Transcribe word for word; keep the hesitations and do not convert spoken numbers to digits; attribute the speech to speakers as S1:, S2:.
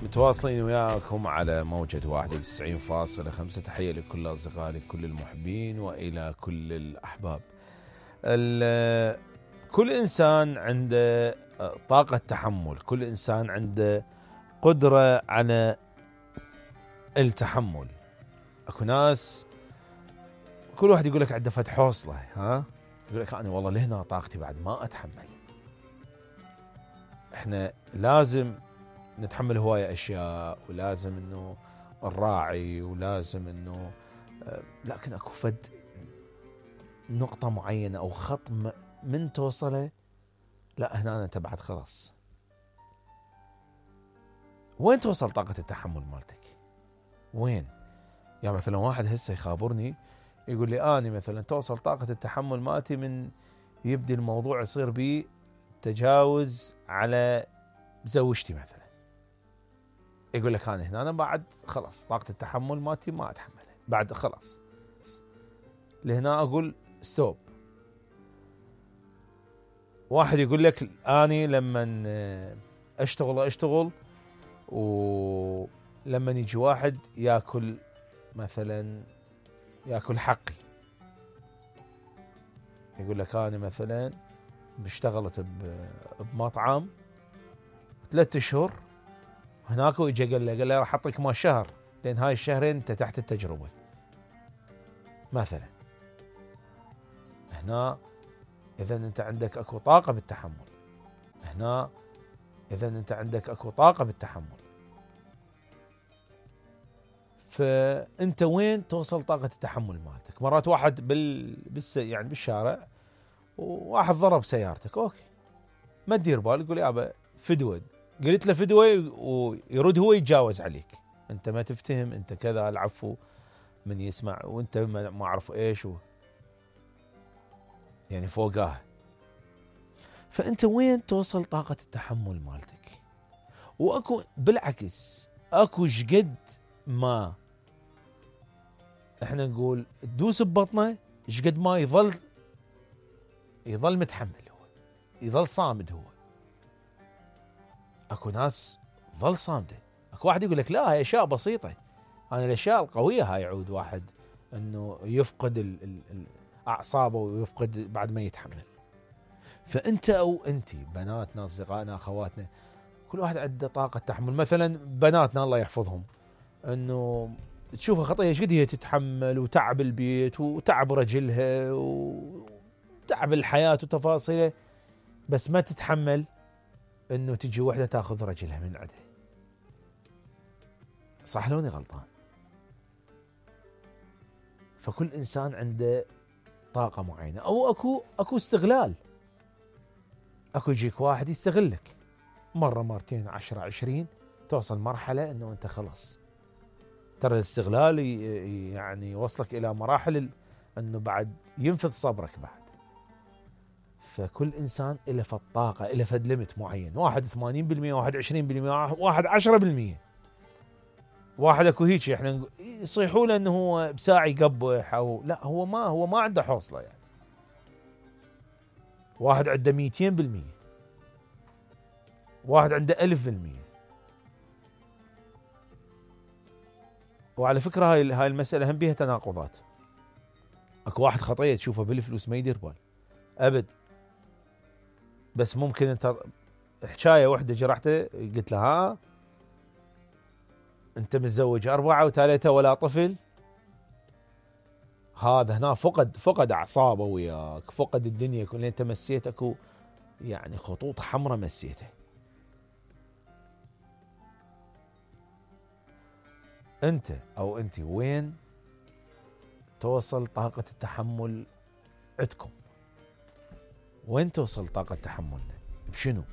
S1: متواصلين وياكم على موجة واحد وتسعين فاصلة خمسة. تحية لكل أصدقائي، لكل المحبين وإلى كل الأحباب. كل إنسان عنده طاقة تحمل، كل إنسان عنده قدرة على التحمل. أكو ناس كل واحد يقول لك عنده فد حوصلة، ها يقول لك أنا والله لهنا طاقتي بعد ما أتحمل. إحنا لازم نتحمل هواية أشياء، ولازم إنه نراعي، ولازم إنه لكن أكو فد نقطة معينة أو خط من توصله، لا هنا أنت بعد خلاص. وين توصل طاقة التحمل مالتك؟ وين؟ يعني مثلا واحد هسه يخابرني يقول لي أنا مثلا توصل طاقة التحمل مالتي من يبدي الموضوع يصير بي تجاوز على زوجتي مثلا. يقول لك أنا هنا أنا بعد خلاص طاقة التحمل مالتي ما أتحملها بعد خلاص. لهنا أقول ستوب. واحد يقول لك أني لما أشتغل أشتغل ولما يجي واحد يأكل مثلا يأكل حقي، يقول لك أنا مثلا اشتغلت بمطعم ثلاثة أشهر هناك، ويجي قال له قال له راح أعطيك ما شهر لأن هاي الشهرين أنت تحت التجربة مثلا. هنا إذا أنت عندك أكو طاقة بالتحمل، هنا إذا أنت عندك أكو طاقة بالتحمل. فأنت وين توصل طاقة التحمل مالتك؟ مرات واحد بال بالس يعني بالشارع وواحد ضرب سيارتك، أوكي ما تدير بال، يقول يابا فدوة، قلت له فدوة ويرد هو يتجاوز عليك، أنت ما تفتهم، أنت كذا، العفو من يسمع وأنت ما أعرف إيش و... يعني فوقاه. فأنت وين توصل طاقة التحمل مالتك؟ وأكو بالعكس أكو شقد ما احنا نقول تدوس ببطنه شقد ما يظل يظل متحمل، هو يظل صامد. هو اكو ناس ظل صامده. اكو واحد يقول لك لا هاي اشياء بسيطه، انا الاشياء القويه هاي يعود واحد انه يفقد ال ال اعصابه ويفقد بعد ما يتحمل. فانت او انت بناتنا اصدقائنا اخواتنا كل واحد عنده طاقه تحمل. مثلا بناتنا الله يحفظهم انه تشوفها خطيه ايش قد هي تتحمل وتعب البيت وتعب رجلها وتعب الحياه وتفاصيله، بس ما تتحمل انه تجي وحده تاخذ رجلها من عندها. صح لوني غلطان؟ فكل انسان عنده طاقه معينه، او اكو اكو استغلال. اكو يجيك واحد يستغلك مره مرتين عشرة عشرين، توصل مرحله انه انت خلاص. ترى الاستغلال يعني يوصلك الى مراحل انه بعد ينفذ صبرك بعد. فكل انسان له فد طاقه، له فد ليمت معين، واحد ثمانين بالمئة، واحد عشرين بالمئة، واحد عشرة بالمئة، واحد اكو هيك احنا يصيحوا له انه هو بساعه يقبح، او لا هو ما هو ما عنده حوصله يعني. واحد عنده مئتين بالمئة، واحد عنده ألف بالمئة. وعلى فكره هاي هاي المساله هم بيها تناقضات. اكو واحد خطيه تشوفه بالفلوس ما يدير بال ابد، بس ممكن انت حكايه واحده جرحته قلت له ها انت متزوج اربعه وثلاثه ولا طفل، هذا هنا فقد فقد اعصابه وياك، فقد الدنيا كلها. انت مسيت اكو يعني خطوط حمراء مسيتها. انت او انت وين توصل طاقه التحمل عندكم؟ وين توصل طاقه تحملنا؟ بشنو؟